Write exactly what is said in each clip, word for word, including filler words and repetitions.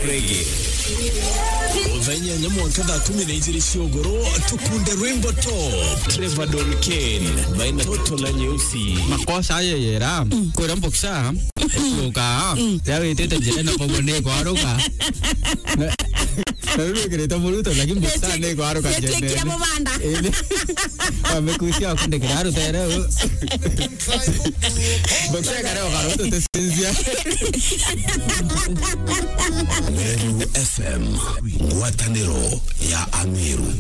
Reggae. Muthenya na mwanka thaa kumi na ijiri cia ugoro, tukunde rwimbo top. Trevor Don Kane, baina toto na nyeusi. Makosa aye yera, kwira mboksa, kuka, ya witite njira na kobo ni kwaruka. Na, na riu wikirite muruto, lakini mboksa ni kwaruka njira. Kia mubanda. Indi, wamekusia kundikira rutere. Mboksa kare okaruto tesinzia. Meru F M, ngwataniro ya Ameru.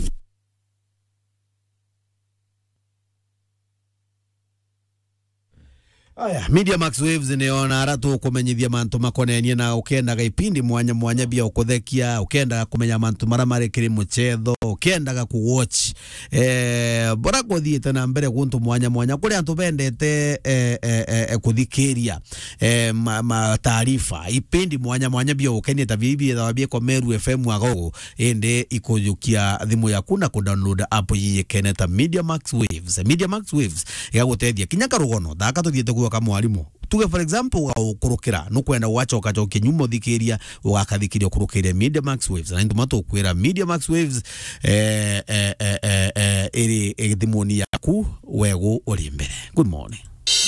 Aya, Media Max Waves ni ona ara tukumenyithia mantu makonenie na ukiendaga ipindi mwanya mwanya bia ukuthekia, ukiendaga kumenya mantu mara mari kiri muchetho, ukiendaga ku watch, eh, bora kuthiite na mbere guntu mwanya mwanya kuri antu bendete, eh, eh, eh, eh, kuthikiria, eh, ma, ma taarifa, ipindi mwanya mwanya bia ukenie ta bibi bia Meru F M agogo, indi ikujukia thimu yaku na ku download app yiyikene ta Media Max Waves. Media Max Waves igagutethia kinya karugono. Thaka tuthiite kuoka mwarimu. Tuge for example, ugaukurukira, nukwenda gwachoka chokia nyuma uthikiria, ugakathikiria ukurukiria Media Max Waves. Na intuma tukwira Media Max Waves, eh, eh, eh, eh, eh, iri, iri thimuni yaku, wegu uri mbere. Good morning.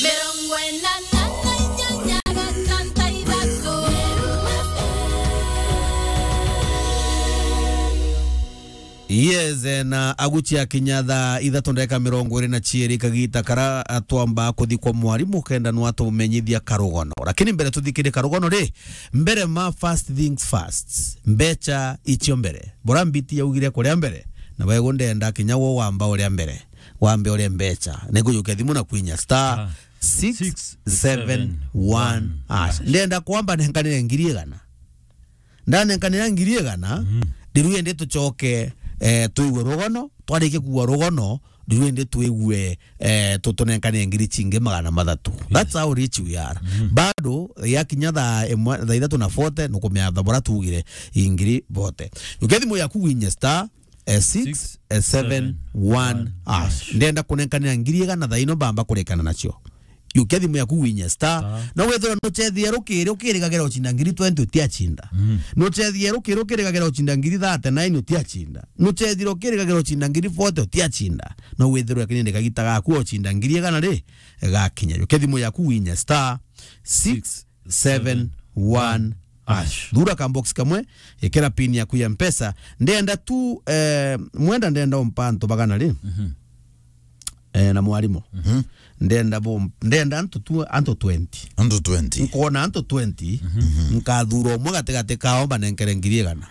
Mirongo ina na inyanya gatanta ithatu. Yes, eh, na aguchia kinya thaa ithatu ndagika mirongo iri na ciiri kagita kara, ah, twamba kuthikwa mwarimu kenda nwa tumenyithia karugono. Lakini mbere tuthikire karugono ri, mbere ma first things first. Mbecha icio mbere. Bora mbiti yaugire kuria mbere. Na wego ndenda kinya wo wamba uria mbere. Wambe uria mbecha. Nikujukia thimu na kwinya star six seven one hash. Ndenda kwamba nenkanire ngiri igana. Ndanenkanira ngiri igana, mm, ndiru indi tucoke, eh, twigue rugono, twarikia kuigua rugono, ndiru indi twigue, eh, tu-, tunenkane ngiri cingi magana mathatu. Yes. That's how rich we are. Mm. Bado, yakinya thaa imwe, thaa ithatu na forty, nukumenya thaa bora tugire ingiri forty. Uke thimu yaku winye star, eh, six seven one hash. Ndenda kunenkanira ngiri igana thaa ino mbamba kurekana nacio. Yukia thimu yaku winye star. Star. No wethira nuchethia rukiri, ukirigagira ucinda ngiri twenty utiacinda. Mm. Nuchethia rukiri, ukirigagira ucinda ngiri thirty-nine utiacinda. Nuchethira ukirigagira ucinda ngiri forty utiacinda. No wethirwe kinindi kagita gaku ucinda ngiri igana ri, gakinya. Yukia thimu yaku winye star six seven one hash. Thura ka box kamwe, ikira pin yaku ya Mpesa. Ndenda tu, eh, mwenda ndenda umpa antu bagana ri? Mhm. Eh, na mwarimu. Mhm. Ndenda bo, ndenda antu tu, antu twenty. Antu twenty. Nkona antu twenty, mhm, nkathura umwe gatigati kao mbanenkere ngiri igana.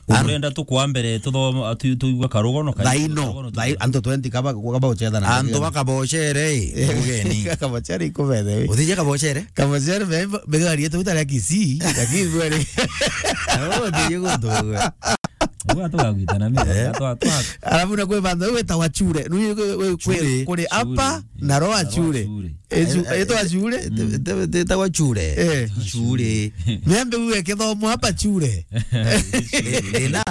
Urenda tukwa mbere tuthoma, tu-, tuigua karugono kai-, thaino, karugono thai-, tuigua. Antu twenty kaba, kaba uchetha na antu ngiri igana. Bakabochere, eh, ugeni. Kabochere ikubethe, eh. Uthije kabochere? Kabochere be, be gari yetu utare Kisii, lakini bwere. Oh, uthije guntu gwe. Uga twagwitana mimi, eh, twa, twa. Alafu na kwe banda, we ta wa chure. Nui we, we, kwe, chure, kuri apa, chure, na roa na roa chure. Chure. Eh, etu achure? Te-, te-, te-, tawa chure. Eh. Chure. Miambe uwe kithomo hapa chure. Thina,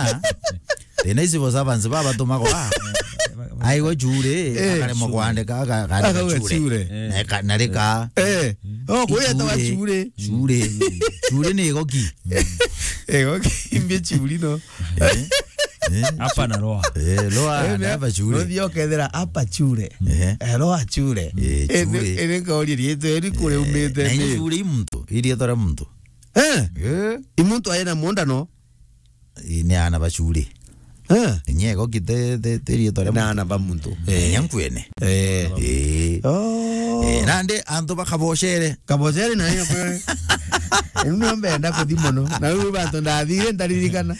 thina ici bo servants baba tumagwa. Aigwa chure, eh, akaremwa kwandika, aka-, akandika akauga chure. Chure. Eh. Na eka-, na rika. Eh. Oh, kuya tawa chure. Chure. Chure ni igoki. Igoki, imbi churi no. Eh. Eh. Hapa na roa. Eh, roa, eh, na hapa chure. No thio kethira hapa chure. Eh. Eh, roa chure. Eh, eh, chure. Ene, ene kauri rietu, eri kure, eh, umite na ni chure i muntu, i rietwa ria muntu. Eh? Eh. I muntu aina munda no? I ni ana ba chure. Eh. Nyego kite, te, te rietwa ria muntu. Na ana ba muntu. Eh. Nyankwene. Eh. Eh. Oh. Eh, nandi antu bakabochere. Kabochere na yo kwe. Enu nio mbenda kuthi mono. Na riu bantu ndathire ndaririkana.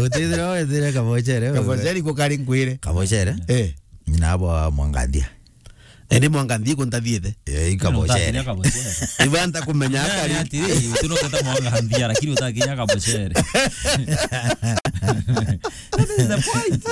Utithira wethire kabochere. Kabochere ko kari nkwire. Kabochere? Eh. Nyina abo Mwangandia. Ende Mwangandia ko ntathiete. Eh, ikabochere. Utakinya kabochere. Ibanta kumenya akari. Ati, eh, utunoketa Mwangandia, lakini utakinya kabochere. That is the point.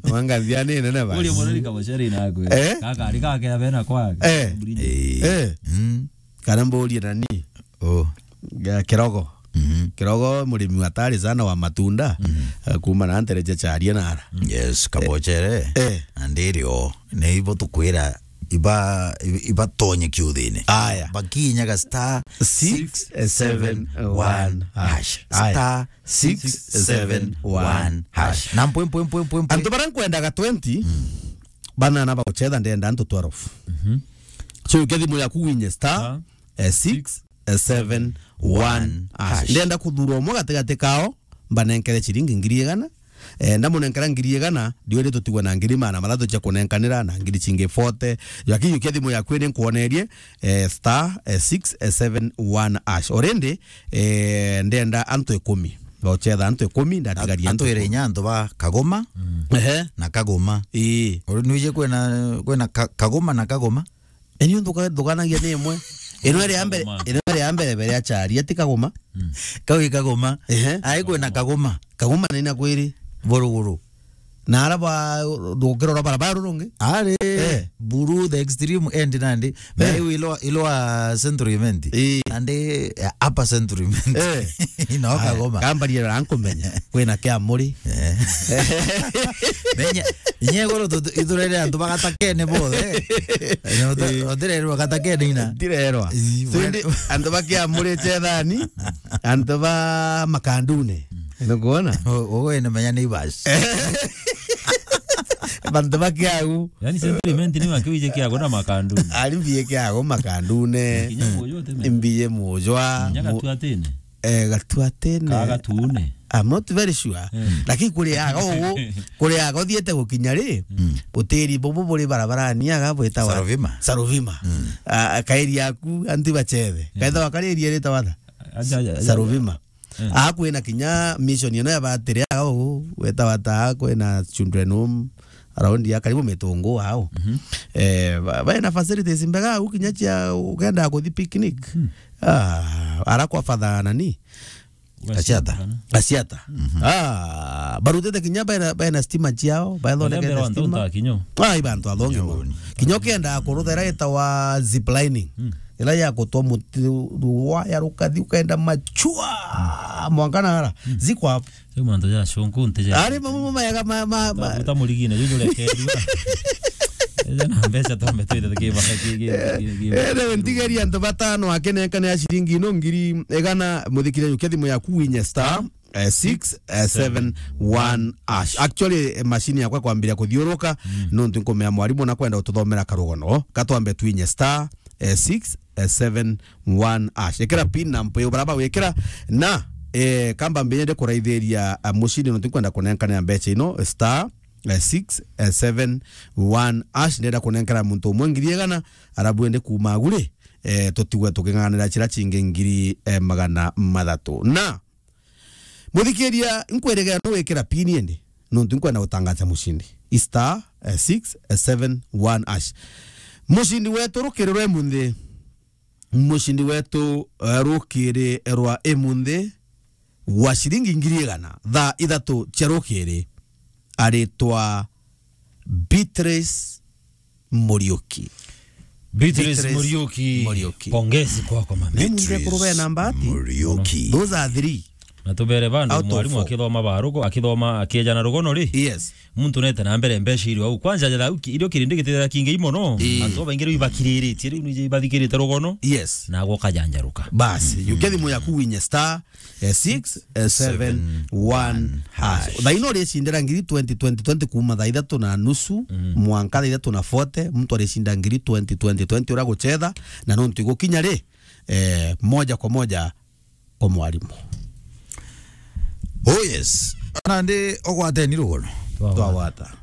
Mwangandia ni nene basi. Ule mwana ni kabochere inakwe. Eh? Kaka, alika ke abena kwa. Eh. Eh. Eh. Mm. Kana mburie nani? Oh. Ga-, Kirogo. Mhm. Kirogo, murimi hatari sana wa matunda. Mhm. Eh, kuma na ntere cha charia nara. Yes, kabochere. Eh. Andirio, ni ibo tukwira iba, iba, ibatonye kiuthine. Aya. Bakinyaga star six seven one hash. Aya. Star six seven one hash. Na mpwe, mpwe, mpwe, mpwe, mpwe. Antu bara nkwendaga twenty, mm, bana na baguchetha ndenda antu twelve. Mhm. So, uke thimu yaku winye star, star, eh, six seven one hash. Ndenda kuthura umwe gatigati kao, mbanenkere ciringi ngiri igana. Eh, ndamunenkera ngiri igana, ndiwiri tutigwe na ngiri magana mathatu cia kunenkanira na ngiri cingi forty. Lakini uke thimu yaku ni nkwonerie, eh, star, eh, six seven one hash. Already, eh, ndenda antu ikumi. Bauchetha antu ikumi, ndatigaria antu ikumi. Atwire inya antu ba Kagoma, mm, ehe, na Kagoma. Ii. Uri nwije kwina, kwina Ka-, Kagoma na Kagoma? Eni nduka-, ndukanagia ni imwe. Ino iri ya mbere, Kagoma. Ino iri ya mbere bere acharia ti Kagoma. Mm. Kau i Kagoma. Ehe. Ai kwina Kagoma. Kagoma ni na kwiri. Buruguru. Na ara ba, ndukirora barabara rurungi? Ari, eh, Buru the extreme end nandi. Eh. Na iu iloa, iloa Central Imenti. Ii. Nandi, eh, upper Central Imenti. Eh. Ino Kagoma. Kambaria rankumenya. Kwina kia muri. Eh. Menya, inya iguru tu-, iturere antu bagatakene bothe. Ino ta-, eh, otirerwa gatakene ina. Ndirerwa. Ii, so, indi antu bakiamurite thani, antu ba makandune. Nukwona? O-, ogo ene menya ni basi. Bantu bakiagu. Yani sentiment ni wakiwije kiago na makandune. Ari mbiye kiago makandune. Kinya mujo teme. Mbiye mujwa. Nya mu- gatuatene. Eh, gatuatene. Ka gatune. I'm not very sure. Mm. Lakini kuriaga ugu, kuriaga uthiete gukinya ri, mm, utiri bubu buri barabarani aga bwitawa Sarovima. Sarovima. Mm. Ah, kairi yaku anti bachethe. Mm. Kaitha wakari area ritawa tha? Aja, aja, aja. Sarovima. Mm. Aa kwina kinya mission ino ya batiri aa uu, wetawa ta aa kwina children home, around ya karibu Mitungu ao. Mhm. Eh, ba-, baina facilities mbega au kinya cia ukenda kuthi picnic. Mm. Ah, ara kwa father nani? Asiata. Asiata. Mhm. Ah, barutite kinya baina, baina stima ciao, baithondekete stima. Ai, bantu athongi mono. Kinya ukienda kuruthera itawa zip lining. Mm. Ila ya gutwa muti rwa ya rukathi ukaenda machua. Mm. Mwanka na ara. Mm. Ziko hapo. Sio mantu ja shonku nte ja. Ari mamu mama ya ma, ma, ma. Uta murigine, juju rekerua. Ija na mbeca tombe twite tukiba, ki, ki, ki, ki. Eh, eh, ntigeria antu batano akenenka ni ya ciringi ino ngiri igana, muthikire yukia thimu yaku winye star, eh, six seven one hash. Actually, eh, machine yakwa kwambiria kuthiuruka, mm, nontu nkumea mwarimu na kwenda ututhomera karugono. Katwambe twinye star, eh, six seven one hash. Ekera pin na mpeu baraba wikira na, eh, kamba mbinyende kuraithiria, eh, mucini nontu nkwenda kunenkanira mbeca ino, star, eh, six seven one hash. Ndenda kunenkera muntu umwe ngiri igana, arabu ende kuuma aguri, eh, tutigwe tuking'ang'anira chira chingi ngiri, eh, magana mathatu. Na, muthikiria, nkwirigera no wikira pin indi, nontu nkwenda gutangaza mucindi. I star, eh, six seven one hash. Mucindi wetu rukiri rwe munthi. Mucindi wetu, eh, rukiri rwa imunthi wa ciringi ngiri igana, thaa ithatu cia rukiri, aritwa Beatrice Muriuki. Beatrice Beatrice Muriuki. Muriuki. Pongezi kwako, mami. Ni munthi ekuru bena mbati. Muriuki. Those are three. Na tubere bandu out of mwarimu four. Akithoma barugo, akithoma akieja na rugono ri? Yes. Muntu nete na mbere mbeca irio au. Kwanza ja thauki, irio kirindi gitethera kingi mono. Ii. Antu baingi riu ibakiriritie, riu nije ibathikirite rugono. Yes. Na gwo kajanjaruka. Basi, mhm, yukia thimu yaku winye star, eh, six seven one hash. Thaa ino uricindira ngiri twenty, twenty, twenty kuma thaa ithatu na nusu, mm, mwanka thaa ithatu na forty, muntu aricinda ngiri twenty, twenty, twenty uria guchetha, na nontu igukinya ri, eh, moja kwa moja kwa mwarimu. Oh yes. Nandi ugwateni rugono. Twagwata. Twagwata.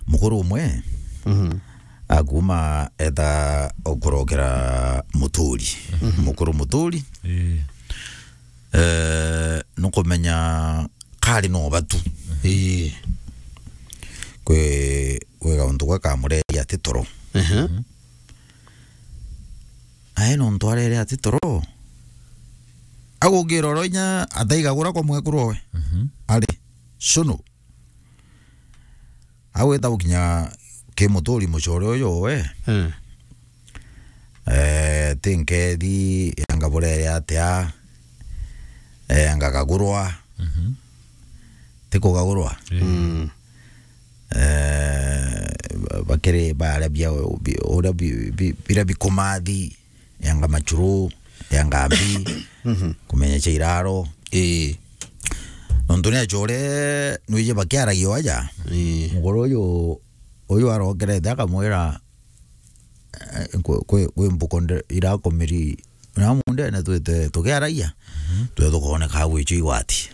Mukuru umwe, mhm, akuma eta okurokera Muturi. Mhm. Mukuru Muturi. Ii. Eh, nukumenya kari no batu. Ii. Kwi, kwi gauntu gwa kamureria ati toro. Ehe. Mhm. Ae nontu arere ati toro. Agungira oro inya ataigagura kwa mwekuru owe. Mhm. Ari, shunu. Agwita gukinya ki Muturi mucore uyu we. Eh. Eh, ti nkethi, anga burere atia, eh, anga kagurwa. Mhm. Ti kugagurwa. Eh. Mm. Eh, ba-, bakiri baria bia, bi-, uria bi-, bi-, biria bikumathi, yanga machuru, yanga mbi, kumenya cia iraro. Ii. Nontu ni achore, nwiji bakiaragia aja. Ii. Muguru uyu, uyu arokerete akamwira, eh, kwi, kwi, kwi mbuko nde-, irakumiri na mundene twite tukiaragia, twe tukooneka gwichwa igwati.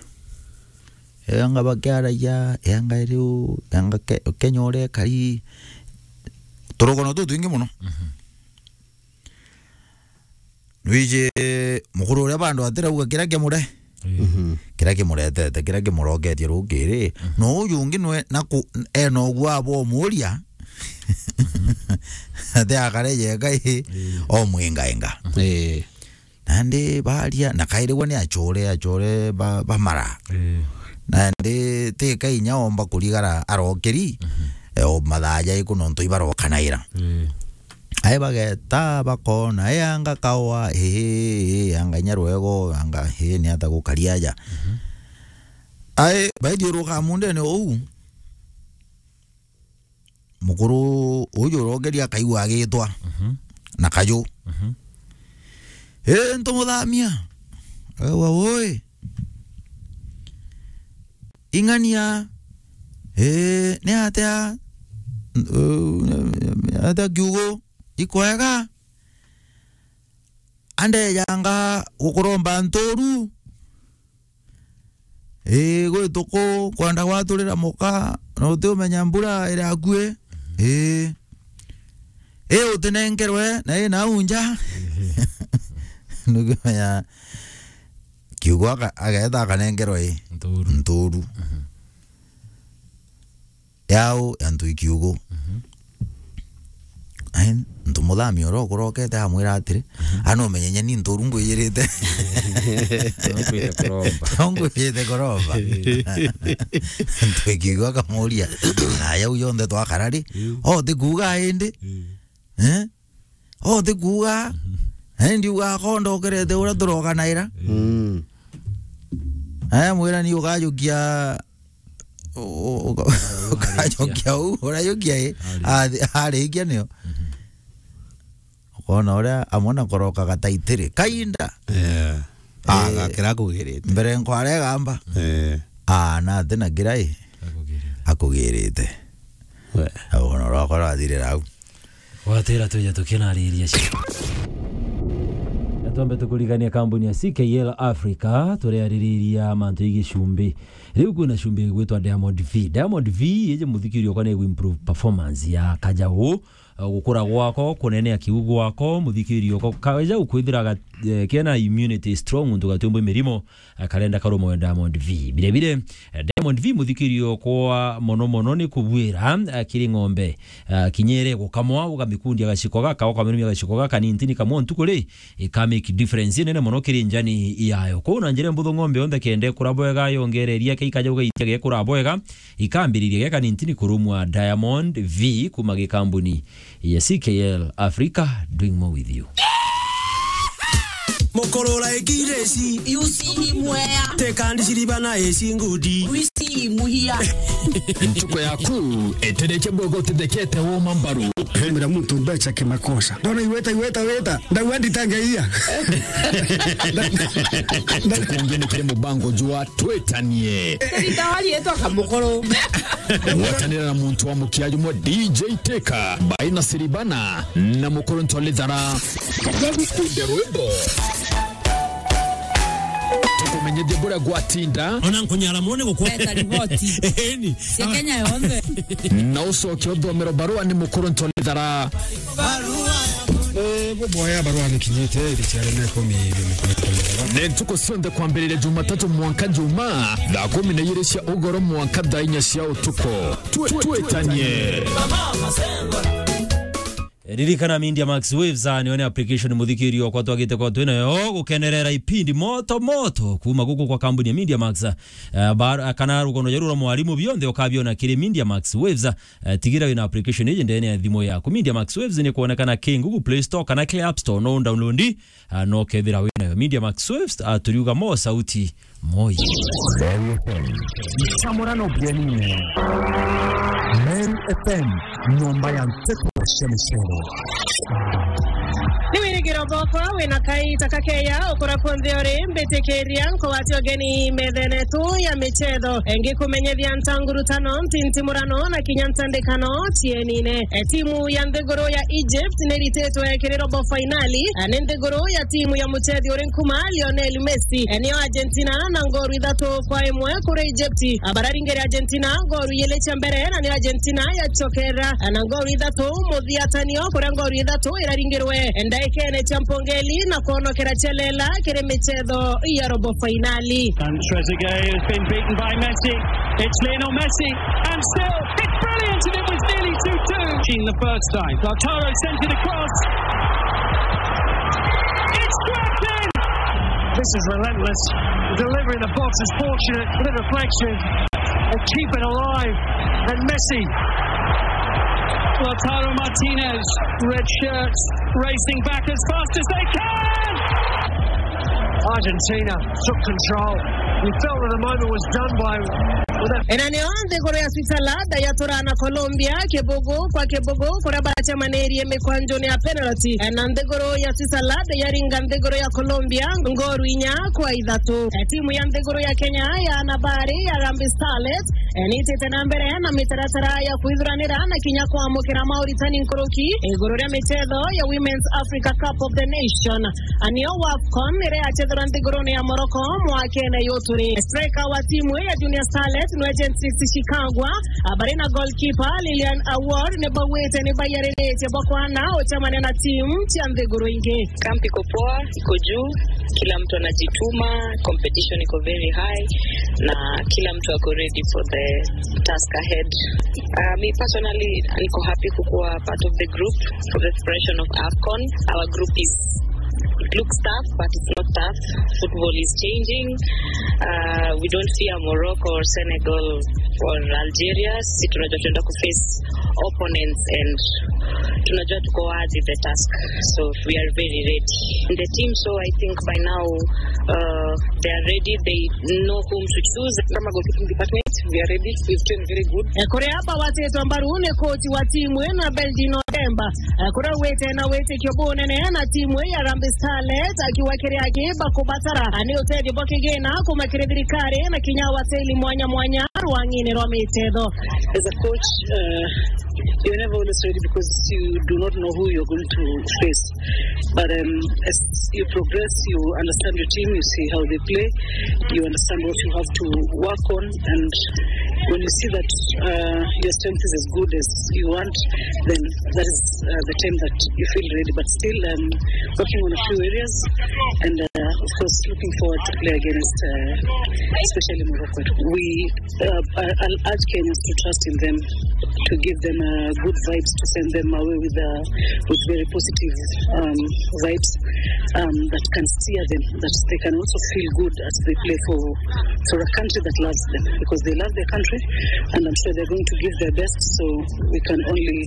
Yanga bakiaragia, yanga riu, yanga ke-, Kenya uria ikari, turugono tutwingi muno. Nwiji mukuru uria bandu atirauga kiria kimure. Mhm. Kiria kimuretete, kiria kimuroketie rukiri. No uyu ungi nwe, na ku-, ena uguo abo umuria. Ati akare yeka i, omwingainga. Ii. Nandi baria, na kairigwa ni achore, achore ba, bamara. Ii. Nandi ti kainya omba kurigara arokiri, e, o mathaa jaiku nontu ibarokanaira. Ii. Ai bageta bakona, e, anga kawa, ii, ii, anga inya rwego, anga, ii, ni ata gukari aja. Ai, baithiuruka mundene uu, mukuru uju urogeria akaigua agitwa na kaju. Ii, ntumuthamia. Aigua, ui. Ing'ania. Ii, ni atia? Uu, atia kiugo? Ikwega? Andejanga gukuromba nturu. Ii, gwi tuku, kwenda gwaturira muka, na utiumenya mbura iri akui. Ii. Ii, utinenkerwe, na ii nau nja. Nukimenya, kiugo aka-, ageta akanenkerwa ii. Nturu. Nturu. Yau ya ntui kiugo. Ai, ntumuthamia uria ukurokete amwira atiri, "Ana umenye nyeni nturu ngwijirite." Ngwijite kuromba. Ntui kiugo akamuria, "Na yau yonthe twakara ri? O ti kuuga indi?" Eh? O ti kuuga, eh, ndiuga akonda ukerete uria turokanaira. Mm. Eh, mwira ni ukajukia, u-, u-, uka-, ukajukia uu, urajukia i. Ari. Athi-, arikia nio. Ukona uria amwe na koroka gataitiri. Kainda. Yeah. Ah, eh, gakira akugirite. Mbere nkware gamba. Eh. Ah, na ati na kira i. Akugirite. Akugirite. We. Au no rwakwa rwathirira au. Gwatira twija tukinariria cia. Na twambe tukurigania kambuni ya C K L Africa, turiaririria mantu igi cumbi. Riu kwina cumbi igwitwa Diamond V. Diamond V iji muthikiri okwa ni improve performance ya kajau. Eh, gukura gwako, kunenea kiu gwako, muthikiri okwa kaja ukwithira ga-, eh, kena immunity strong, muntu gatiumbwi mirimo, eh, karenda karumwe Diamond V. Bire bire, eh, Diamond V muthikiri okwa mono mono ni kubwira, eh, kiri ng'ombe, eh, kinyere gukamwa, ugamikundia gaciko gaka, ukaminumia gaciko gaka ni ntini kamwe ntuku ri, ika make difference nene mono kiri njani yayo. Kwou na njira mbuthu ng'ombe yonthe kende kura bwega, yongereria ke ikaja ugaitia gekura bwega, ikambiriria geka ni ntini kurumwa Diamond V kuma gikambuni ya C K L Africa, doing more with you. Mukurura ikireci. Yusi imwea. Tekandi siriba na esi ngudi. Wisi imuhia. Ntuku yaku itereke bwega utithekete woma mbaru. Mira muntu mbecha kimakosa. Ndona iweta, iweta, weta. Ndauga nditangeia. Tukungi ni kiri mubango jwa twitanie. Ritawari etwa Kamukuru. Gwatanira na muntu wa mukia jumwe D J Teka, Baina Siribana, na Mukuru Ntolithara. Tukumenyithie buria gwatinda. Ona nkunyara mone gukwa. Weta riboti. Eni. Cia Kenya yonthe. Na ucoke uthomero barua ni Mukuru Ntolithara. Eh, buboya barua ni kinyite, iri ciare na ikumi, ni ntuku cionthe kwambiriria Jumatatu mwanka Juma, thaa kumi na igiri cia ugoro mwanka thaa inya cia utuku. Twe-, twitanie. Ririkana Media Max Waves, ah, niyo ni application muthikirio kwa twagite kwa twina yo gukenerera ipindi moto moto kuma guku kwa kambuni ya Media Max. Eh, bar-, kana rugono jaru rwa mwarimu bionthe ukabiona kiri Media Max Waves. Eh, tigira wina application iji ndene ya thimu yaku. Media Max Waves ni kuonekana ki Google Play Store kana ki App Store, no download, ah, no kethira winayo. Media Max Waves, ah, turiuga mo sauti moyo. Meru F M. Nchamurano bienine. Meru F M, nyomba ya nteto cia micero. Ni wirigiro bwakwa wina kaita kakeya ukura kunthe uri, mbitikiria nkugwatia ugeni methene tu ya michetho. Ngikumenyithia ntangurutano, ntintimurano na kinya ntandikano cienine. E, timu ya nthiguru ya Egypt ni rititwe kiri robo fainali, a, ni nthiguru ya timu ya muchethi uri nkuma Lionel Messi. E, niyo Argentina na ngoru ithatu kwa imwe kuri Egypt. A, bararingire Argentina ngoru ijiri cia mbere, na ni Argentina yacokera, a, na ngoru ithatu muthiatanio, kuria ngoru ithatu iraringirwe ndaikene cia mpongeli na kwonokera chelela kiri michetho ya robo fainali. And Trezeguet has been beaten by Messi. It's Lionel Messi, and still, it's brilliant, and it was nearly two two. In the first time, Lautaro sent it across. It's cracked in! This is relentless. Delivery in the box is fortunate, a bit of reflection, and keep it alive. And Messi. Lautaro Martinez, red shirts, racing back as fast as they can! Argentina took control. You felt that the moment was done by, with that. Ena niyo nthiguru ya Switzerland yatura na Colombia kibugu kwa kibugu, kuria baracemanirie mikwanjuni ya penalty. Na nthiguru ya Switzerland yaringa nthiguru ya Colombia ngoru inya kwa ithatu. E, timu ya nthiguru ya Kenya ya anabari ya Harambee Starlets, e, nitite na mbere na mitaratara ya kwithuranira na kinya kwamukira mauritani nkuruki iguru ria michetho ya Women's Africa Cup of the Nation. A, niyo WAFCON iria yachethirwa nthigurune ya Morocco mwakene yuturi. Striker wa timu ya Junior Starlet nwe Jeantrix Shikangwa, a, bari na goalkeeper Lilian Awor ni bauite ni baiyariritie bwa kwana uchemania na timu cia nthiguru ingi. Camp iko poa, iko juu, kila mtu anajituma, competition iko very high, na kila mtu ako ready for the task ahead. Uh, me personally, niko happy kukuwa part of the group for the preparation of AFCON. Our group is, it looks tough, but it's not tough. Football is changing. Uh, we don't fear Morocco or Senegal or Algeria. Sisi tunajua tunaenda kuface opponents and tunajua tuko worthy the task. So we are very ready. In the team, so I think by now, uh, they are ready. They know whom to choose. Kama goalkeeping department, we are ready. We've trained very good. E, kuria bawatitwe mbaru ni coach wa timu ino, Beldino Demba. E, kuria wite na witikio bunene na timu ya Harambee Starlets, akiuga kiria aki bakubatara, a, ni utethio bwa kigina kuma kiri thirikari na kinya wateli mwanya mwanya rwang'ini rwa michetho. As a coach, uh, you're never always ready because you do not know who you're going to face. But, um, as you progress, you understand your team, you see how they play, you understand what you have to work on, and when you see that, uh, your strength is as good as you want, then that is, uh, the time that you feel ready. But still, um, working on a few areas, and, uh, of course, looking forward to play against, uh, especially Morocco. We Uh, I, I'll urge Kenyans to trust in them, to give them, uh, good vibes, to send them away with, uh, with very positive, um, vibes, um, that can steer them, that they can also feel good as they play for, for a country that loves them, because they love their country, and I'm sure they're going to give their best, so we can only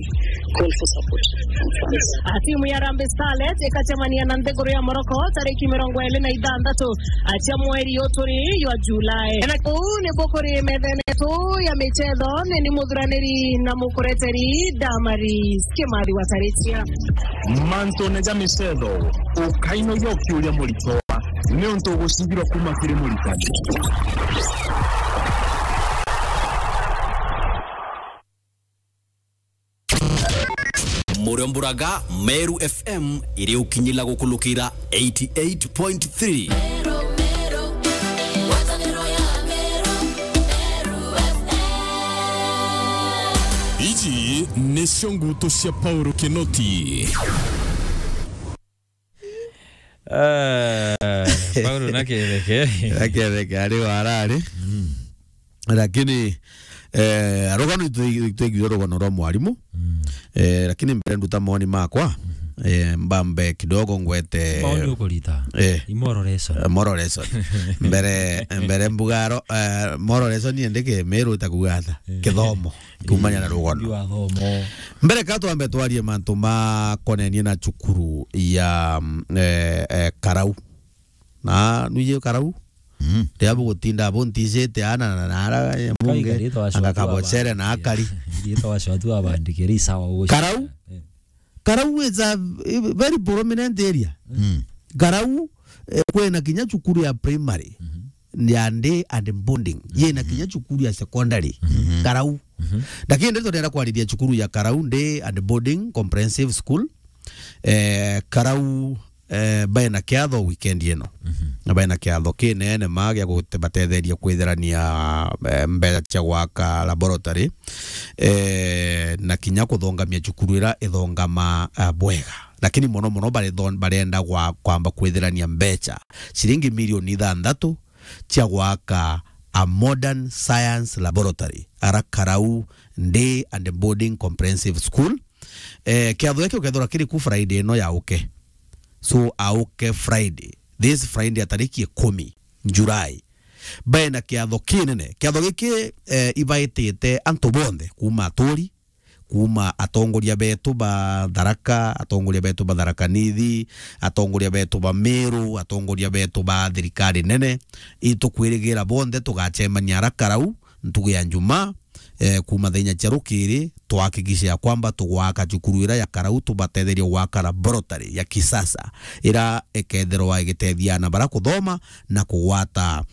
call for support from fans. A, timu ya Harambee Starlets ikacemania na nthiguru ya Morocco tariki mirongo iri na ithanthatu cia mweri uyu turi jwa Julai. Na kuu ni bukuri methene tu ya michetho, ni ni muthuraniri na mukureteri Damaris Kimathi wa Taritia. Mantune ja michetho, ukainogia ukiuria muritwa, ni untu ugucigirwa kuma kiri muritani. Muriomburaga Meru F M iri ukinyila gukulukira eighty eight point three. Iji nicio ngutu cia Paulo Kinoti. Eh, Paulo na Ketheke. Na Ketheke ari warari. Mm. Lakini Eh, rugano itu-, itwigire rugano rwa mwarimu. Mm. Eh, lakini mbere nduta mawoni makwa, eh, mbambe kidogo ngwete Maoni ukurita. Eh. Imororeshon. Eh, mororeshon. Mbere, mbere mbugaro, eh, mororeshon ni ndike Meru itakuga ata? Eh. Kithomo. Kumanya na rugano. Ndi wa thomo. Mbere ka twambe twarie mantu makonenie na cukuru ya, mm, eh, eh, Karau. Na nuije Karau? Mm. Ria bugutinda buntijite ana na, na ara, eh, munge, kaigari twacwa anga tu kabocere na abandike. Akari. Iri twacwa tu abandike, ri sawa uguo. Karau? Eh. Karau is a, eh, very prominent area. Mm. Karau, eh, kwina kinya cukuru ya primary. Mhm. Ya day and boarding. Yina kinya cukuru ya secondary. Mhm. Karau. Mhm. Lakini ndio tunaenda kwariria cukuru ya Karau Day and Boarding Comprehensive School. Eh, Karau, eh, bae na kiatho weekend ino. Mhm. Na bae na kiatho kinene ma gia kubatetheria kwitherania, eh, mbeca cia gwaka laboratory, eh, na kinya kuthongamia cukuru ira ithongama, eh, bwega. Lakini mono mono barethon-, barenda gwa-, kwamba kwitherania mbeca ciringi milioni ithanthatu cia gwaka a modern science laboratory, ara Karau Day and Boarding Comprehensive School. Eh, kiatho giki ukethirwa kiri ku Friday ino ya uke. So, auke Friday. This Friday ya tariki ikumi July. Bae na kiatho kinene. Kiatho giki, eh, ibaitite antu bonthe kuma aturi, kuma atongoria betu ba Tharaka, atongoria betu ba Tharaka Nithi, atongoria betu ba Meru, atongoria betu ba thirikari nene. Itukwirigira bonthe tugacemania ara Karau ntugu ya Njumaa, eh, kuma thaa inya cia rukiri, tuhakikishe ya kwamba tugwaka cukuru ira ya Karau, tubatetherie gwaka laboratory ya kisasa, ira ikethirwa igitethia ana bara kuthoma na kugwata,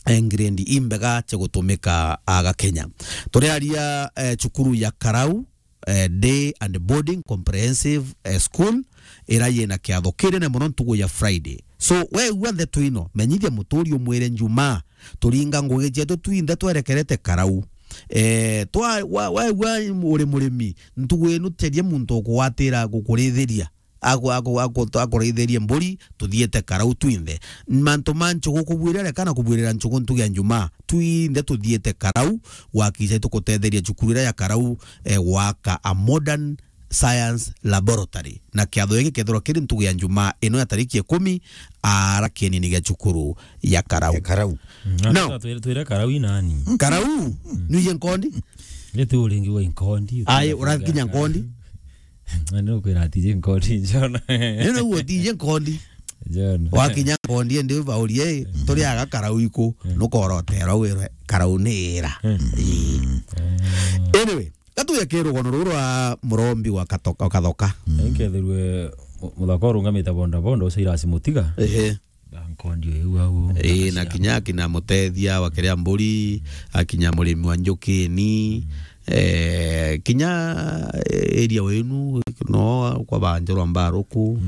eh, grade imbega cia gutumika aga Kenya. Turiaria, eh, cukuru ya Karau, eh, Day and Boarding Comprehensive, eh, School, ira yina kiatho kinene mono ntugu ya Friday. So, we igua ndeto ino, menyithia muturi umwire Njumaa, turinga ngugi cietu twinthe twerekerete Karau. Eh, twa-, wa-, waigua uri murimi, ntugu ino ceria muntu ukugwatira gukurithiria. Aku-, aku-, aku-, akuraithirie mburi, tuthiite Karau twinthe. Mantu ma nchugu kubwirira, reka na kubwirira nchugu ntugu ya Njumaa, twinthe tuthiite Karau, gwakisha tukutetheria cukuru ira ya Karau, eh, gwaka a modern science laboratory. Na kiatho giki kethirwa kiri ntugu ya Njumaa ino ya tariki ikumi, ara kienini gia cukuru ya Karau. Ya Karau. Mm, no. Twire, twire Karau i nani? Karau? Mm. Nuije Nkondi? Ni tu uringi wa Nkondi. Ai, urakinya Nkondi? Na ni ukwira ati je Nkondi, John. Ni na uo ti je Nkondi. John. Wakinya Nkondi, ndi baurie, turi aga Karau iku, nukorotera wirwe, Karau ni ira. Mm. Ii. Anyway, gatuye ki rugono ruru rwa murombi wa Katoka, wa Kathoka. Nkethirwe mu-, muthaka urungamite bonda bonda, ucio irasi mutiga. Ehe. Nkondi uyu au. Ii, na kinya akina Mutethia wa Kiria Mburi, akinya Murimi wa Njukini, eh, kinya, eh, area wenu, no kwa ba Njorwa Mbaruku,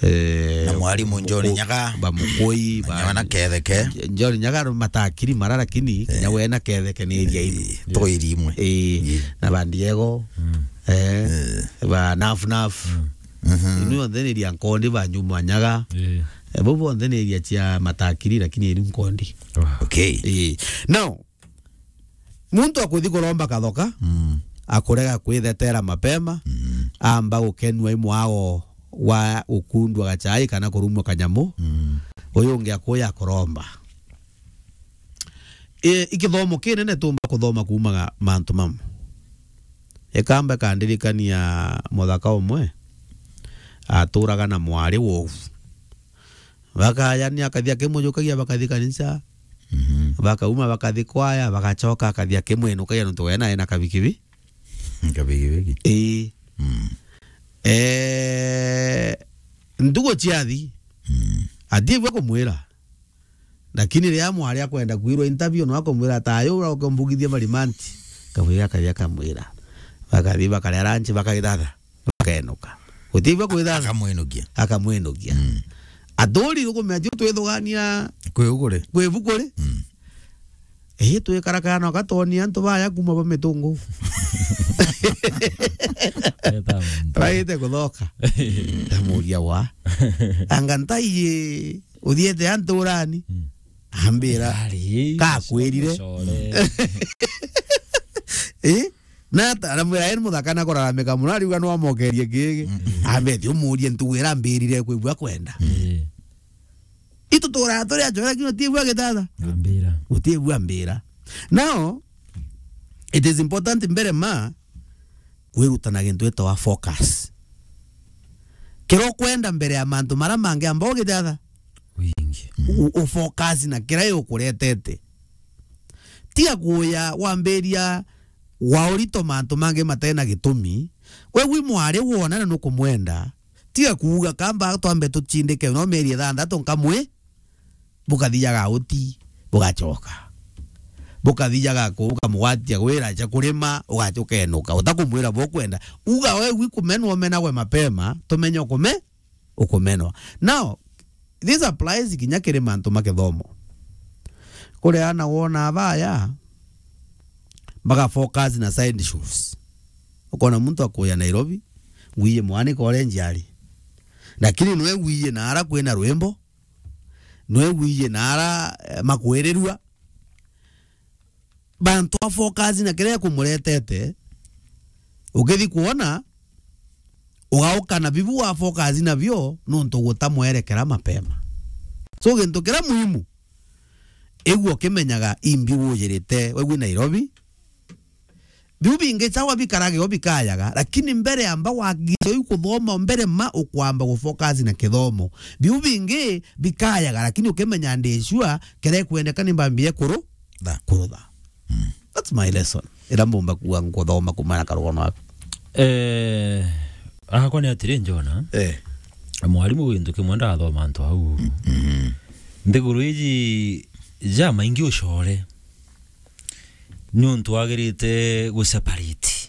eh, na mwarimu Njori Muku-, Nyaga. Ba Mukui, na ba Nyaga na Ketheke. Njori Nyaga matakiri mara, lakini kinya we na Ketheke ni area inu. Eh, to area imwe. Ii, na ba Ndiego, eh, ba Naf Naf. Mhm. Inu yonthe ni ria Nkondi, ba Nyuma Nyaga. Eh. Eh, bau bonthe ni iria cia matakiri, lakini iri Nkondi. Wow. Okay. Ii. Now, muntu akuthi kuromba Kathoka, mm, akurega kwithetera mapema, mm, amba gukenua i mwago wa ukundwa gachai kana kurumwa kanyamu, mm, uyu ungi akuya kuromba. I, i kithomo kinene tumba kuthoma kuumaga mantu mamwe. Ikamba ikandirikania muthaka umwe aturaga na mwari wovu. Bakayania akathi akimwinukagia, bakathi kanisa. Mhm. Bakauma bakathi kwaya, bagacoka akathi akimwinukagia nontu we nae na kabikibi. Kabigibigi. Ii. Mm. Eh, ntugo ciathi. Mm. Atiigua kumwira. Lakini riria mwari akwenda kwirwa interview, no akamwira, "Tayo, ura ukambugithia marimanti." Kamwira, akathi akamwira. Bakathi bakaria lunch, bakagithatha. Bakenuka. Gutiigua kwithatha. Akamwinukia. Akamwinukia. Mm. Aturi rukumenya tio twithugania kwi ugure. Kwi bukuri. Mm. Ii, twikarakara na gatoni antu baya kuma ba Mitungu. Eta muntu. Baite kuthoka. Ndamuria wa. Anga ntai uthiete antu urani? Mm. Ambira. Ari, kakwirire. Core. Eh? Na ata-, aramwira, "Eni muthaka na kuraramika muno," ariuga, "No amokerie gigi." Mm. Ambe, "Ti umurie ntugu ira mbirire kwigua kwenda." Eh. Itu turaga turi achoe, lakini utiigua gitata. Ambira. Utiigua mbira. Now, it is important mbere ma kwirutana gintu gitawa focus. Kira ukwenda mbere ya mantu mara mangi amba ugitata. Wingi. U-, u-, ufocus na kira ukuretete. Tiga kuya wambiria wa urito mantu mangi matena gitumi. We wi mwari wona na nukumwenda. Tiga kuuga, "Kamba twambe tuchindike no mieri ithantatu nkamwi." Bukathiaga uti, bugachoka. Bukathiaga ku-, ukamugwatia gwira cha kurima, ugacha ukenuka. Utakumwira bukwenda. Uga we wi kumenwa umenagwe mapema, tumenye ukume-, ukumenwa. Now, this applies kinya kiri mantu ma kithomo. Kuri ana wona abaya, baga focus na side shows. Ukona muntu akuya Nairobi, ngwiye mwanike uria njiari. Lakini nwe ngwiye na ara kwina rwimbo, nwe ngwiye na ara, eh, makwirirua. Bantu a focus na kiria kumuretete, ukithi kuona, ugauka na bibu wa focus nabio, nontu gutamwerekera mapema. So, gintu kiria muhimu, igua ukimenyaga imbi wujirite, we wi Nairobi, biu bingi chawa bikarage o bikayaga, lakini mbere amba wagicha u kuthoma, mbere ma ukwamba gufocus na kithomo. Biu bingi bikayaga, lakini ukimenya ndi sure kere kwendeka ni mbambie kuru-, Tha. Kurutha. Mm. That's my lesson. Ira mbumba kuwa nkuthoma kuma na karugono aku. Eh, akwa ni atiri, Njona. Eh. Mwarimu gintu kimwe ndathoma antu au. Mm. Nthiguru iji ja maingi ucore. Niuntu wagirite gu separate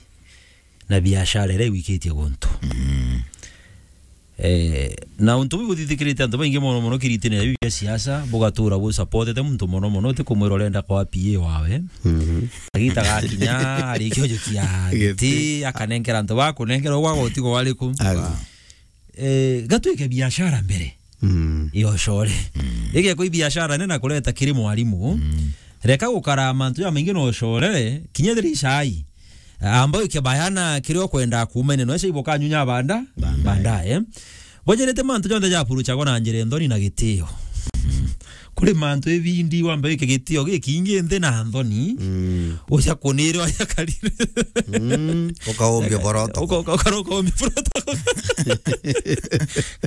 na biashara iria igwikitie guntu. Mm. Eh, na untu buu buthithikirite antu baingi mono mono kiritine ya biu bia siasa, bugatura bu supportete muntu mono mono, utikumwira urenda kwa P A wawe. Mhm. Agita gakinya, arikio jukia giti, Giti. Akanenkera antu bakunenkera ugwa gutigo wariku. Agu. Eh, gatwike biashara mbere. Mm. Iyo ucore. Mm. Igekwa ibiashara nene na kureta kiri mwarimu. Mm. Reka gukara mantu jamaingi na ucore, kinya thiri cai. Amba wike bayana kiria ukwenda kuuma ine, no icio ibukanyunya banda, Baadaye. Baadaye. Bojerete mantu jonthe japuruchagwa na njira nthoni na gitio. Mm. Kuri mantu ibindi wambe wike gitio gikingi nthi na nthoni. Mm. Uja kunire waja karire. Mm. Ukaumbia protocol. Uka-, uka-, uka-, ukaumbia protocol.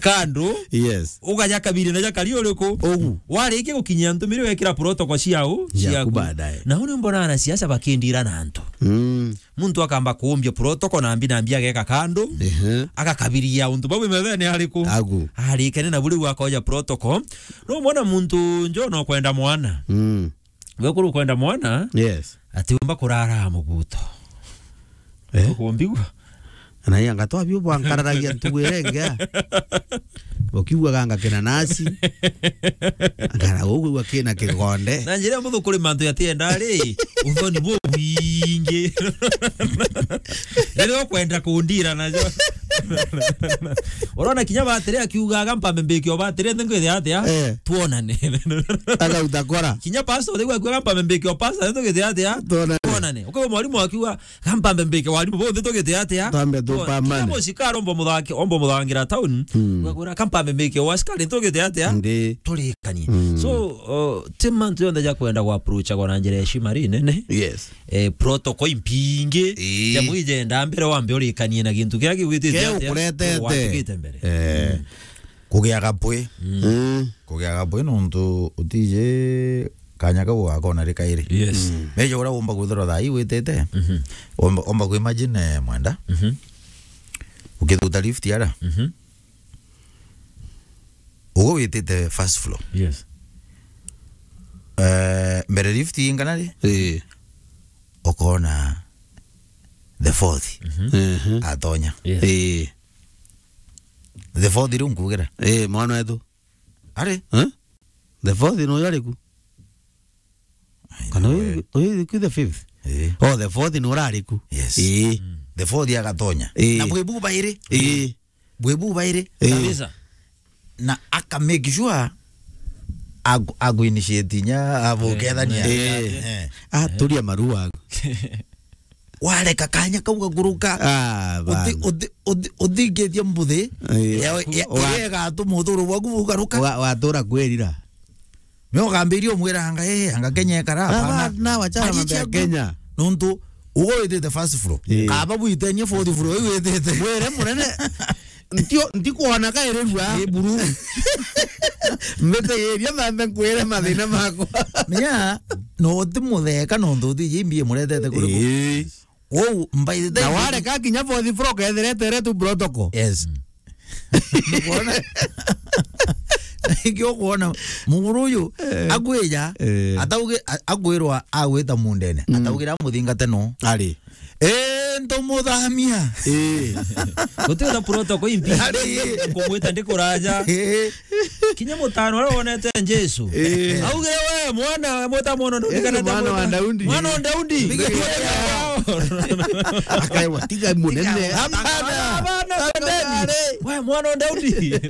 Kando. Yes. Ukaja kabiri na jakari uriku? Ugu. Warikia gukinyia ntumire wekira protocol ciao, Ciaku ciaku. Baadaye. Na uni mbona anasiasa bakindira na antu. Mm. Muntu akamba kuumbia protocol na mbi na mbi ageka kando. Ehe. Agakabiria untu bau methene ariku? Agu. Arikene na buri akoja protocol. No mwana muntu njo no kwenda mwana. Mm. We kuru kwenda mwana? Yes. Ati umba kurara muguto. Eh? Ukumbigua? Na iya ngatwa biu bwankararagia ntugu iria ingi. Ukiugaga ngakena nasi. Ngara ugwigua kina kigonde. Na njira muthu kuri mantu yatienda ri, uthoni bubwingi. Riria ukwenda kundira najo. Urona kinya batiri akiugaga mpambe mbiki o batiri nthi ngwithia atia? Eh. Tuonane. Agauta kora. Kinya pastor riu akiuga mpambe mbiki o pastor nthi ngwithia atia? Tuonane. Tuonane. Ukiwa mwarimu akiuga, "Kampambe mbike warimu bonthe tugite atia?" Twambe tu Twa-, permanent. Kila mucika aromba muthaki, omba muthangira town. Mm. Ugakora, "Kampambe mbike wa askari tugite atia?" Ndi. Turikanie. Mm. So, uh, ti mantu yonthe ja kwenda gwa approach gwa na njira ya heshima ri nene. Yes. Eh, protocol impingi. Ii. Ja mwije nda mbere wambe urikanie na gintu kia kigwitite Kia atia? Ukuretete. Watikite mbere. Eh. Mm. Kugia gapwi. Mm. Mm. Kugia gapwi nontu utiji kanya kau gakona ri kairi. Yes. Mm. Meja uria umba kwithirwa thaa ii witite. Mhm. Umba, umba ku imagine, eh, mwenda. Mhm. Ukithuta lift ara. Mhm. Ugo witite first floor. Yes. Eh, mbere lift ingana ri? Ii. Ukona the fourth. Mhm. Mhm. Atonya. Yes. Ii. The fourth riu nkugira. Ii, mwana wetu. Ari? Eh? The fourth ni uyu ari ku? Ai, kana we. Uyu, uyu ku the fifth? Eh. Oh, the fourth ni urari ku? Yes. Eh. Mm. The fourth agatonya. Eh. Na bwi bu bairi? Eh. Bwi bu bairi? Eh. Kabisa. Na aka make sure agu-, agu initiate nya abukethania. Eh. Eh. Ah, turia maru aku. wareka kanya kau gakuruka. Ah, uthi, bana. Uthi, uthi, uthingithia mbuthi, eh, ya, ya, wa-, iria igatuma uthuru bwaku bugaruka. Wa-, watura kwirira. Nio ukambiria umwira anga, eh, anga Kenya ikara, ah, hapana. Na, na wachana mambo ya Kenya. Nontu ugo withite first floor. Eh. Kaba bwitenie fourth floor, iu withite. Mwire munene, ntio, ntikuona kairerua. Ni buru. Mbitigiria mambe nkwire mathina makwa. Menya, no uti mutheka nontu uti jimbi muretete kuri ku. Eh. Wow, by the time na wareka kinya fourth floor, kethirete tu protocol. Yes. Nukwona? Niki ukwona muguru uyu, eh, akwija, eh, atauge, a-, akwirwa agwita mundene, mm, ataugira muthingate no. Ari. Eh, ntumuthamia. Eh. Guti na protocol imbi. Ari. Kumwita ndikuraja. Eh. Kinya mutano uria wonete Jesu. Eh. Augire, "We mwana, mwita mwana, eh, ndikana mwana wa Daudi. Mwana wa Daudi." Akaigua, "Tiga munene." Tiga. Hapana. Hapana, hapana, twendeni. We mwana wa Daudi.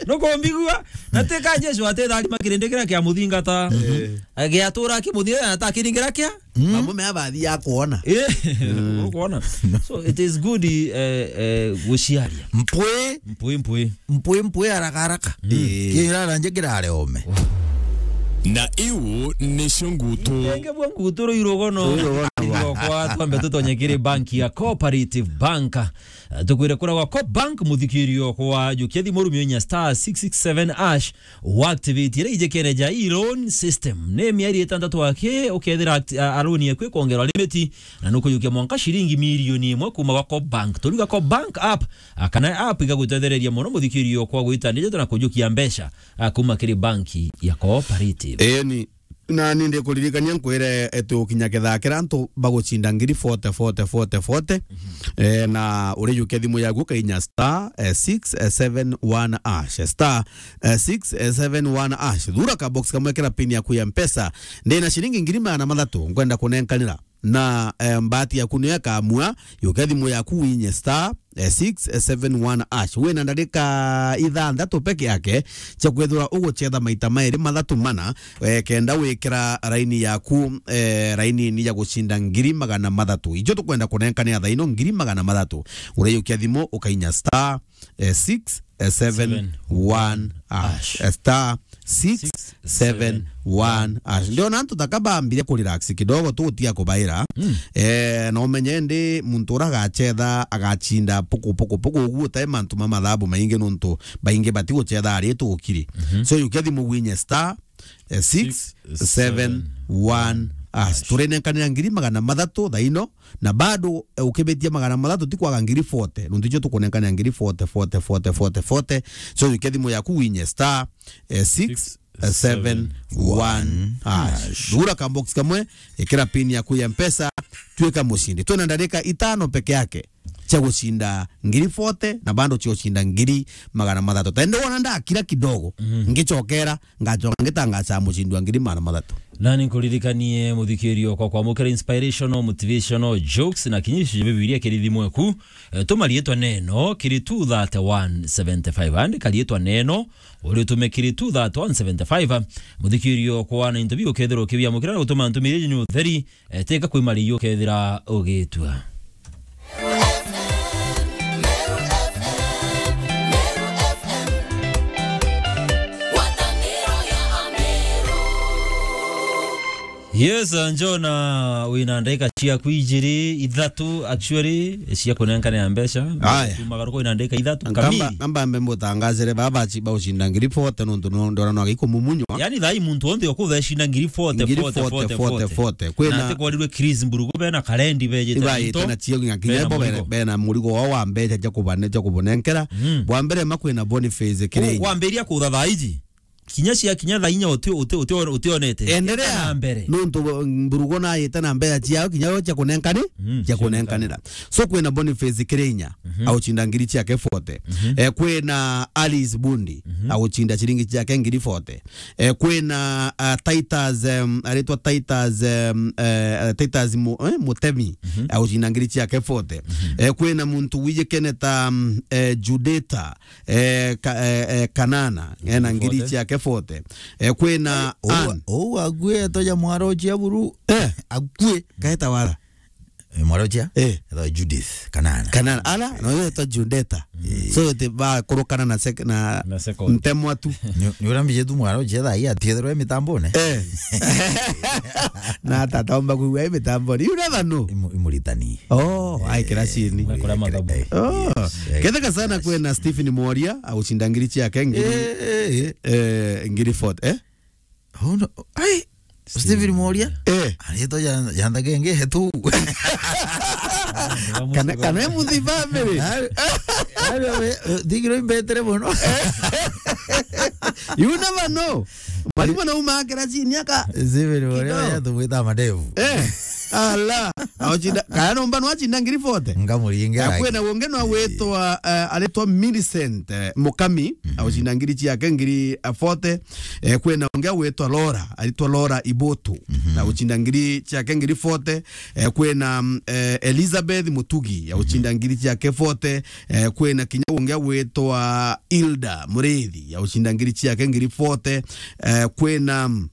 Nukumbigua? Na tika Jesu atitharima kirindi kiria kia muthingata. Eh. Agiatura akimuthia na atakiringira kia? Mm. Mamwe mea bathi ya kuona. Eh, mm, ukuona. So it is good, eh, eh, guciaria. Mpwi. Mpwi, mpwi. Mpwi, mpwi, haraka, haraka. Mm. Eh. Kirara nje kirare ome. Na iu nicio ngutu. Ingi bwa ngutu ruirugono. Ruirugono. Kwa twambe tutonye kiri bank ya Cooperative Bank. Eh, tukwire kura gwa Coop Bank, muthikirio kwa jukia thimu rumio inya star six six seven hash. Waactivate iria ijikene ja e-loan system. Ni mieri itantatu aki ukethira act-, a, a loan yaku ikwongerwa limit, na nukujukia mwanka ciringi milioni imwe kuma gwa Coop Bank. Turiga Coop Bank app, a, kana app igagutetheriria mono muthikirio kwa gwita ndeto na kujukia mbeca, a, kuma kiri banki ya Cooperative. Eni, na ni ndikuririkania nkwire, e, tukinya kethaa kira antu bagucinda ngiri forty, forty, forty, forty. Mhm. E, na urijukia thimu yaku ukainya star, e, six seven one hash, star, e, six seven one hash. Thura ka box kamwe, kira pin yaku ya Mpesa. Ndina ciringi ngiri magana mathatu nkwenda kunenkanira. Na, e, mbati yaku niyo ikamua, yukia thimu yaku winye star, e, six seven one hash. Wina ndarika ithanthatu peke yake cia kwithirwa ugucetha maita mairi mathatu mana, e, kenda wikira raini yaku, e, raini-ini ya gucinda ngiri magana mathatu. Icio tukwenda kunenkanira thaa ino, ngiri magana mathatu. Urijukia thimu ukainya star, e, six seven one hash. Star six seven one hash. Ndiona antu taka bambire ku relax kidogo tu, utiga kubaira. Mm. Eh, na umenye ndi muntu ura agacetha, agacinda puku, puku, puku, uguo tai mantu ma mathabu maingi nontu baingi batigucetha ari tukiri. Mhm. So, yukia thimu winye star, eh, six seven one hash. Turinenkanira ngiri magana mathatu thaa ino, na bado, eh, ukibitia magana mathatu ti kwaga ngiri forty. Nontu icio tukunenkanira ngiri forty, forty, forty, forty, forty. So, yukia thimu yaku winye star, eh, six seven one hash. Thura ka box kamwe, ikira pin yaku ya Mpesa, tuika mucindi. Twina ndarika itano peke yake cia gucinda ngiri forty, na bado cia gucinda ngiri magana mathatu. Tende wona ndakira kidogo, mhm, ngicokera, ngacoka ngitangaca mucindi wa ngiri magana mathatu. Na ni nkuririkanie muthikirio kwa kwamukira inspirational, motivational jokes na kinya icio cia Bibilia kiri thimu eku. Eh, tuma riitwa neno kiri two thirty one seventy five. Andika riitwa neno, uritume kiri two thirty one seventy five. Muthikirio kwa na into biu ukethirwa ukibiamukira na gutuma ntumiri yenyu utheri, eh, teka kwi mari ukethira ugitua. Yes, Njona, wina ndagika ciaku ijiri, ithatu, actually, cia kunenkana ya mbeca. Aya. Tumagaruka wina ndagika ithatu kamili. Nkamba, nkamba mbe mutangazire baba aci-, baucinda ngiri forty nontu no ndona no agikumumunyo. Yani, thaa ii muntu wonthe ukutha ecinda ngiri forty, ngiri forty, forty, forty, forty, forty. Kwina na ati kwarirwe Chris Mburugu bena karendi bejite iba nto, ite na cio nginya, nginya bena bo bena, murigo, bena murigo wao wa mbeca cia kubane, cia kubunenkera. Mm. Bwa mbere ma kwina Boniface Kirenya. Wambiria kutha thaa iji. Kinya cia kinya thaa inya uti-, uti-, uti-, utionete. Endelea. Ita na mbere. Nontu Mburugu na ite na mbeca ciao kinya yo cia kunenkani, mm, cia cia kunenkanira. So kwina Boniface Kirenya, mhm, aucinda ngiri ciake forty. Mhm. Eh, kwina Alice Bundi, mhm, aucinda ciringi ciake ngiri forty. Eh, kwina, ah, Titus, em, aritwa Titus, em, eh, Titus Mu-, eh, Mutemi, mhm, aucinda ngiri ciake forty. Mhm. Eh, kwina muntu wijikene ta, mm, eh, Judita, eh, ka-, eh, eh, Kanana, ena ngiri ciake forty. Eh, kwina Ann. Ou akue toja mwaro cia buru. Eh, akue, kaeta wara. Eh, mwarauchia? Eh. Etwa Judith Kanana. Kanana. Ala, no, yo etwa Judeta. Eh. So, te ba kurukana na sek-, na Na second. Ntemwa tu. Ni, ni uria mbije tu mwarauchia thaa hii atiethirwe mitambone. Eh. Na tata omba kuigua mitambone. You never know. Imu-, imuritani. Oh, ai kiracini. Mwe kura mathabu. Eh, oh. Yes. Eh, ketheka sana kwena Stephen Mworia, agucinda ngiri ciake ngiri, eh, eh, eh. Eh, ngiri forty, eh? Oh, no. Ai, Stephen Mworia? Eh. Arito ya, ya ndagenge hetu. Kana, kana e muthi family. Ari, ari we, eh, thigiro imbetere mono. You never know. Mwalimu na uma akira chini aka. Stephen Mworia kidogo. Ya tumwita madevu. Eh. Ala. Auchinda, kaya nomba no achinda ngiri forty. Ngamuringe. Ya kwena wonge no wetwa, eh, aretwa Millicent, eh, Mukami. Mhm. Auchinda ngiri ciake ngiri, eh, forty. Eh, kwena ungi agwitwa Laura, aritwa Laura Ibotu, mhm, na gucinda ngiri ciake ngiri forty. Eh, kwena, mm, eh, Elizabeth Mutugi, ya gucinda, mhm, ngiri ciake forty. Eh, kwena kinya ungi agwitwa Hilda Murithi, ya gucinda ngiri ciake ngiri forty. Eh, kwena, mm,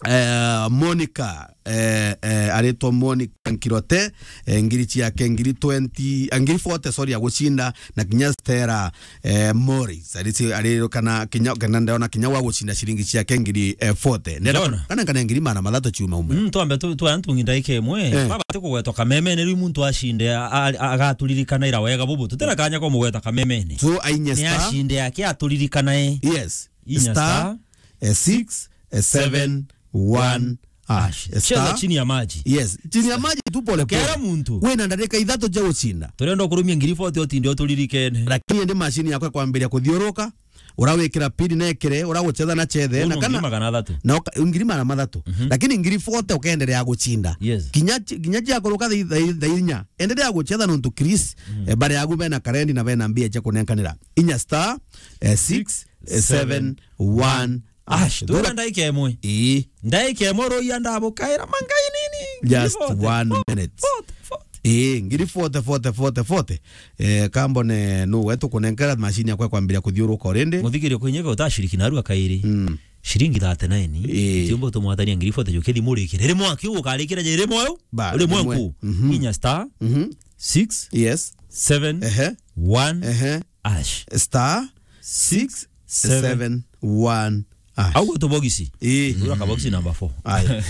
eh, Monica, eh, eh, aritwa Monica Nkirote, eh, ngiri ciake ngiri twenty, eh, ngiri forty, sorry, ya gucinda, na kinya Stella, eh, Morris, ari ci-, ari kana kinya, kana ndona kinya wa gucinda ciringi ciake ngiri, eh, forty. Ndenda Ndona. Kana, kana ngiri magana mathatu ciuma umwe. Mm, twambe tu, tu antu ngi ndaika imwe. Eh. Baba ati kugwetwa kamemene, riu muntu acinde, a-, a-, agaturirikana ira wega bubu. Tutira kanya ko mugweta kamemene. So, ainya ni star. Acinde yake aturirikana e. Yes. Inya star, star, eh, six, eh, seven, one, hash. Cheza star. Chini ya maji. Yes, chini ya maji tu pole pole. Kera muntu. Wina ndarika ithatu cia gucinda. Turenda kurumia ngiri forty otinde uturirikene. Lakini ndi machine yakwa kwambiria kuthiuruka, urawikira pin nekire, uraguchetha na chethe, na kana magana mathatu. Na uka-, ngiri magana mathatu. Mhm. Lakini ngiri forty ukendelea gucinda. Yes. Kinya chi-, kinya cia kuruka thaa, thaa, thaa inya. Endelea guchetha nontu Chris, mhm, eh, bare agu bena karendi na bena mbia cia kunenkanira. Inya star, eh, six, seven, one, hash. Thura ndaika imwe. Ii. Ndaika imwe ruia ndabukaira mangai nini. Just one minute. Forty, forty, forty. Ii, ngiri forty, forty, forty, forty. Eh, kambone nu wetu kunenkera machine yakwa kwambiria kuthiuruka already. Muthikirio kwinyeka utashiriki narua kairi. Mm. Shiringi thirty-nine. Ii. Tiumba utumwatania ngiri forty jukithi murikire. Rimwe akiu ukarikira je rimwe u. Ba, rimwe rimwe. Ku. Mhm. Inya star. Mhm. Six. Yes. Seven. Ehe. One. Ehe. Hash. Star six seven one hash. Au tu bogisi. Ii. Ura ka bogisi number four. Aya.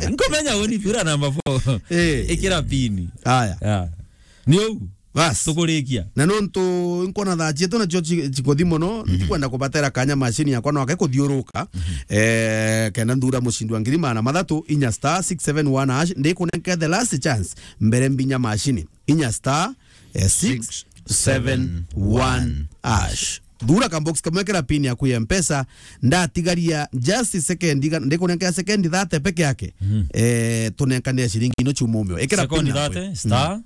Nkomenya uni pira number four. Ii. Ikira pin. Aya. Ya. Ni u. Bas. Tukurikia. Na nontu nkona thaa cietu nacio ci-, cikuthi mono, mhm, ndikwenda kubatera kanya machine yakwa no ake kuthiuruka. Mhm. Eh, kenda nthura mucindi wa ngiri magana mathatu, inya star six seven one hash, ndikunenke the last chance mbere mbinya machine. Inya star, eh, six seven one hash. Thura ka box kamwe kira pin yaku ya Mpesa, ndatigaria just second, iga-, ndikunenkea second thirty peke yake. Mhm. Eh, tunenkanire ciringi ino ciumumio. Ikira pin yaku. Second thirty, star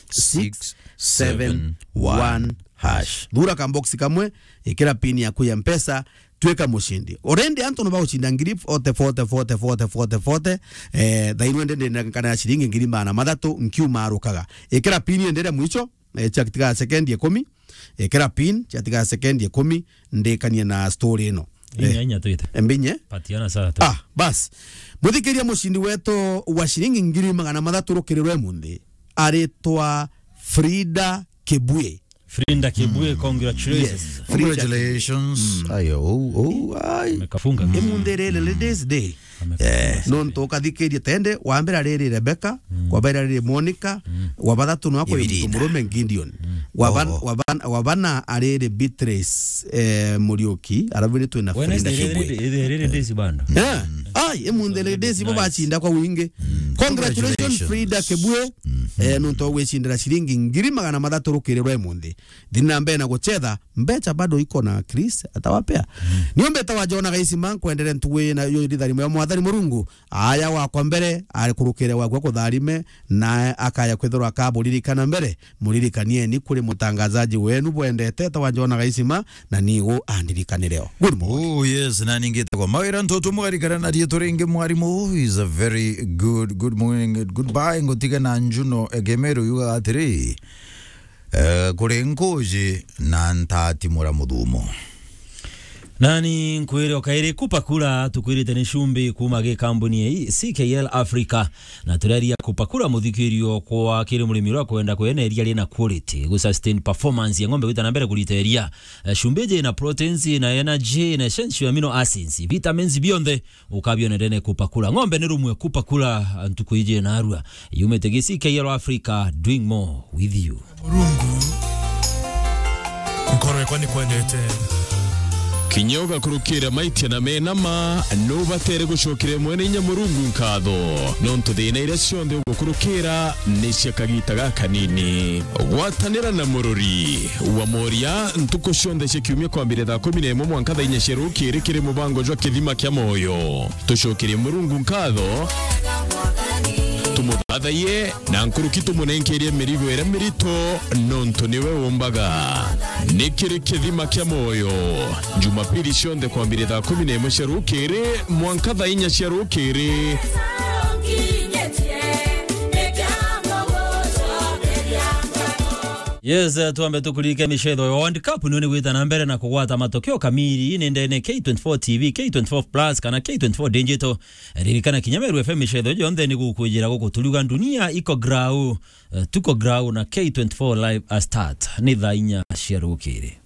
six seven one hash. Thura ka box kamwe, ikira pin yaku ya Mpesa, twika mucindi. Already antu no bagucinda ngiri forty, forty, forty, forty, forty, forty. Eh, thairwe ndende na kana ya ciringi ngiri magana mathatu nkiuma arukaga. Ikira pin endere mwicho, eh, ciatiga sekendi ikumi. Ikira pin, ciatiga sekendi ikumi, ndikanie na story ino. Inya, eh, inya twite. Mbinye. Patiana saa tu. Ah, bas. Muthikiria mucindi wetu wa ciringi ngiri magana mathatu rukirirwe munthi. Aritwa Frida Kibue. Frida Kibue, mm, congratulations. Yes. Frida. Congratulations. Mm. Ayo, oh, oh, ai. Amekafunga. Imunthi riri, Ladies Day. Amekafunga. Eh, nontu ukathikiria tende, wa mbere ariri Rebecca, mm, wa bairi ariri Monica, mm, wa bathatu no akwe muntu murume Gideon. Mm. Wa ban-, oh, oh, wa ban-, wa bana ariri Beatrice, eh, Muriuki, arabu ni twina Frida Kibue. Wednesday riri, riri, riri, riri bando. Eh, mm, ai, imunthi riri, nice, bo bacinda kwa wingi. Mm. Congratulations, congratulations, Frida Kibue. Mm. Eh, nontu wa gwicindira ciringi ngiri magana mathatu rukirirwe imunthi. Thiini na mbere na guchetha, mbecha bado iko na Chris atawapea. Mm. Niombe tawa Jona Gaisima, nkwendere ntugu ii na yo iri tharimo ya Mwathani Murungu. Aya wakwa mbere, ari kurukire wakwa kutharime, nae akaya kwithirwa akaburirikana mbere. Muririkanieni kuri mutangazaji wenu bwendete tawa Jona Gaisima, na nigu andirikanire o. Good morning. Oh, yes, na ningite kwa mawira ntutu mwarikana na rietu ringi mwarimu is a very good, good morning, goodbye, ngutiga na Njuno Egemeru yuga atiri, eh, kuri nkuji na ntatimura muthumo. Nani nkwire o kairi, Kupakura tukwirite ni cumbi kuuma gi kambuni ii C K L Africa. Na tureria Kupakura muthikirio kwa kiri murimi uria kwenda kweneria ri na quality, gu sustain performance ya ng'ombe gwita na mbere kurita iria. Eh, cumbi iji na proteins, na energy, na essential amino acids, vitamins bionthe ukabionere ni Kupakura. Ng'ombe ni rumwe Kupakura, ntuku iji narua. Yumite gi C K L Africa, doing more with you. Murungu, nkorwe kwa ni kwendete. Kinya ugakurukira maitia na mena ma, nubatere gucokere mwene inya Murungu nkatho, nontu thina iria cionthe ugukurukira ni cia kagita gakanini. Gwatanira na murori wa moria ntuku cionthe cia kiumia kwambire thaa kumi na imwe mwanka thaa inya cia rukiri kiri mubango jwa Kithima kia Moyo. Tucokerie Murungu nkatho, tumuthathaie, na nkuruki tumunenkerie mirigo iria mirito, nontu niwe umbaga. Ni kiri Kithima kia Moyo, Jumapili cionthe kwambire thaa kumi na imwe cia rukiri mwanka thaa inya cia rukiri. Yes, eh, twambe tukurike micetho ya World Cup, niyo ni gwita na mbere na kugwata matokeo kamili ni ndene K twenty-four T V, K twenty-four Plus kana K twenty-four Digital. Ririkana kinya Meru F M micetho yonthe ni gukwijira guku turuga dunia iko grau, eh, tuko grau na K twenty-four live a start ni thaa inya cia rukiri.